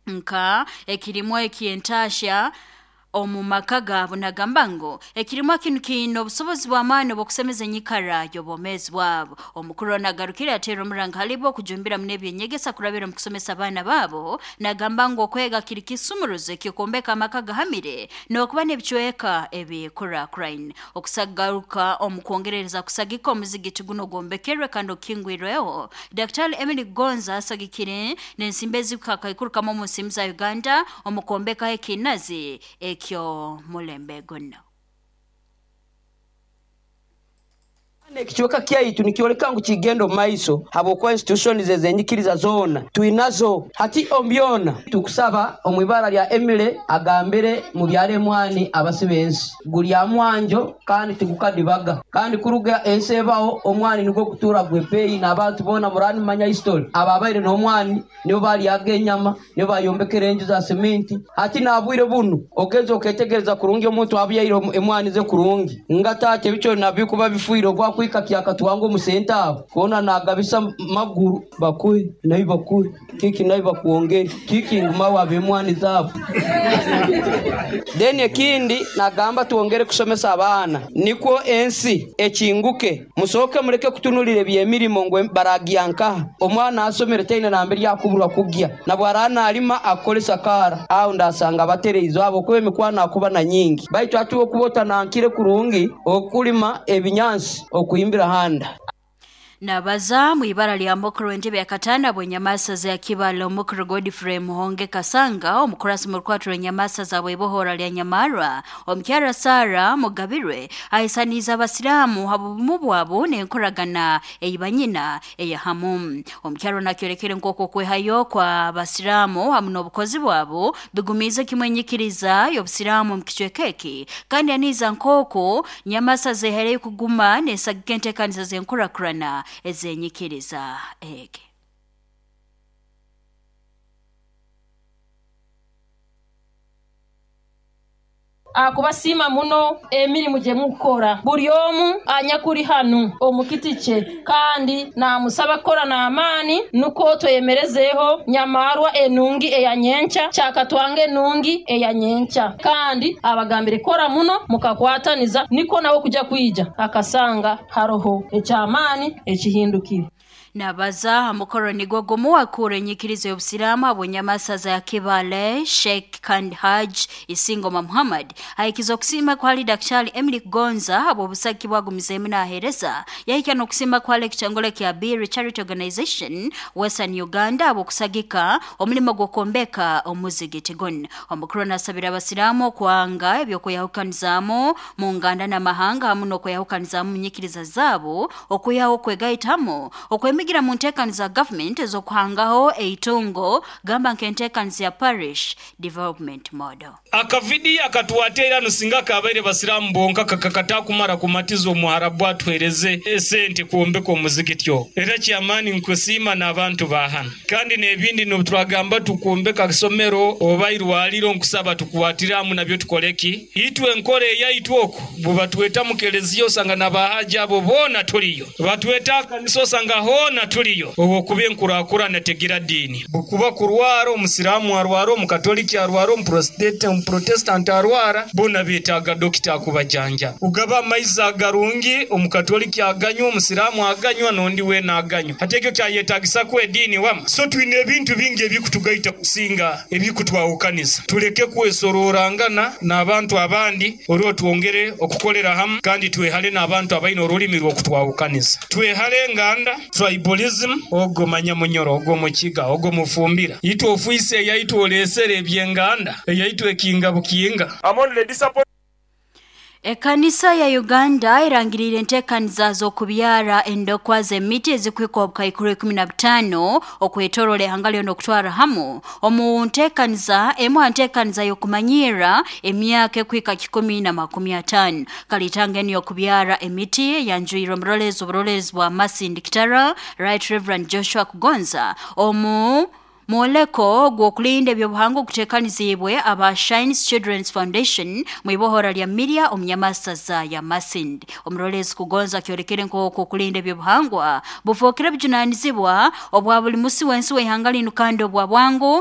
Nka ekirimwa eky'entaahya omu maka gaabo. Nagamba ngu ekirimwa kinu kiine obusobozi bw'amaani obw'okusemeza enyikara y'obwomeezi bwabo. Omukuru nagarukire ateera omuranga halibo okujumbira muno eby'enyegesa kurabira omu kusomesa abaana baabo. Nagamba ngu okwega kiri kisumuruzo eky'okwombeka amaka gahamire n'okuba n'ebicweka ebikuraakuraine. Okusagaruka omu kwongerereza kusagika omuzigiti guno ogwombekerwe kandi okukingwirweho, Daktari Emily Kugonza asagikire n'ensimbi ezikakaikuru kamu omu nsimbi za Uganda omu kwombekaho ekiinazi eky'omulembe guno. Ekicweka kyaitu nikyoleka ngu kigenda omu maiso habwokuba institutions ez'enyikiriza zoona twinazo hati omu byona. Tukusaba omu ibara lya Emily agambire mubyare emwani abasi b'ensi. Guri aha mwanjo kandi tigukadibaga. Kandi kuruga ensi ebaho omwani nigwo gutuura gw'ebeeyi n'abantu boona muraba nimumanya history ababaire n'omwani nibo baryaga enyama, nibo bayombekere enju za seminti. Hati n'obwire bunu ogenza oketegereza kurungi omuntu abyaire emwani ze kurungi nga taata ebicori nabyo bikuba bifiire obwakwika kyakatwanga omu sente aho hoona nagabisa maguru bakuhe nawe bakuhe kiki nawe bakwongere kiki nguma waaba emwani zaabo. Then ekindi nagamba twongere kusomesa abaana nikwo ensi ekinguke. Musooke mureke kutunulira eby'emirimo ngu baragya nkaha. Omwana asomere taine nambere akuburwa kugya nabwo nalima akukoresa kaara aho ndasanga batereize ahabwokuba emikwano akuba na nyingi baitu hati okuba otanankire kurungi okulima ebinyansi okuhimbira handa. Nabaza mu ibara lya mukuru w'entebe ya katana bw'enyamasaza ya Kibale, omukuru Godfrey Muhonge Kasanga, omukurasi mu rukwatiro rw'enyamasaza bw'ibohora lya Nyamarwa, omukyara Sara Mugabirwe, ahisaniize abasiraamu habw'obumu bwabo n'enkoragana ei banyina eyahamu. Omukyaro nakyolekere nk'oku okwehayo kwa basiraamu hamu n'obukozi bwabo bigumiize kimwe enyikiriza y'obusiraamu omu kicweka eki, kandi aniiza nk'oku nyamasaza ehaireyo kuguma n'esagika enteekaniza z'enkurakurana ez'enyikiriza egi. Akubasiima muno emirimu gye mukukora buri omu anyakuri hanu omu kiti kye, kandi namusaba kukora n'amaani nukwo tweyemerezeho Nyamarwa enungi eya nyenkya, kyakatwanga enungi eya nyenkya. Kandi abagambire kora muno mukakwataniza nikwo nawe kuja kwija akasanga haroho ekyamaani ekihindukire. Nabaza aha mukoro nigwo gumu akuura enyikiriza y'obusiraamu habw'enyamasaza ya Kibale, Sheikh kandi Haj Isingoma Muhammad, ahikiza okusiima kwali Daktari Emily Kugonza habw'obusagiki bwagumizeemu naaheereza, yahikya n'okusiima kwali ekitongole kya Biri Charity Organization Western Uganda habw'okusagika omulimo gw'okwombeka omuzigiti gunu. Omukuru nasabira abasiraamu okwanga eby'okweyahukanizaamu mu nganda n'amahanga hamu n'okweyahukanizaamu mu nyikiriza zaabo, okwihaho okwegaitamu okwemigira mu nteekaniza za gavumenti ez'okuhangaho eitungo, gamba nk'enteekaniza ya Parish Development Model. Akavidiyo akatwateire hanu singa kabaire basiraamu bonka kakakatakumara kumatiza omuharabu atuhereze esente kwombeka omuzigiti ogwo. Era kyamaani nkusiima n'abantu ba hanu. Kandi n'ebindi n'obutwagamba tukwombeka isomero oba irwaliro nkusaba tukwatire hamu nabyo tukole ki? Itwe enkora eyaitu oku bwebatweta mu keleziya osanga n'abahaji abo boona tuliyo. Batweta aha kanisa osanga hoona tuliyo. Obwokuba enkurakurana tegira diini. Bwekuba kurwara, omusiraamu arwara, omukatoliki arwara, omuprotesitanti arwara, boona betaaga dokita akubajanjaba. Kugaba amaizi agarungi, omukatoliki aganywa, omusiraamu aganywa n'ondi weena aganywa. Hati ekyo kyayetagisaku ediini wama? So twine ebintu bingi ebikutugaita kusinga ebikutwahukaniza. Tuleke kwesoroorangana n'abantu abandi, orwo twongere okukolera hamu kandi twehale n'abantu abaine orulimi rw'okutwahukaniza. Twehale enganda, tribalism, ogwo manya Munyoro, ogwo Mukiga, ogwo Mufumbira. Itwe ofiisi eyaitu oleesere eby'enganda, eyaitu ekinga bukinga. I'm only disappointed. Ekanisa ya Uganda erangiriire enteekaniza z'okubyara endokwa z'emiti ezikuhika obukaikuru 15 okwetoroora ihanga lyona okutwara hamu omu nteekaniza emu ha nteekaniza y'okumanyirra emyaka ekuhika 150. Kalitanga enu y'okubyara emiti eyanjwirwe omuroleezi oburoleerezi bwa Masindi Kitara, Right Reverend Joshua Kugonza, omu mwoleko gw'okulinda ebyobuhangwa oguteekaniziibwe aba Shines Children's Foundation mu ibohora lya Miria omu nyamasaza ya Masindi. Omuroleezi Kugonza akyolekere nk'oku okulinda ebyobuhangwa bufookere bujunaanizibwa obwa buli musi w'ensi w'ihanga linu kandi obwa bwangu.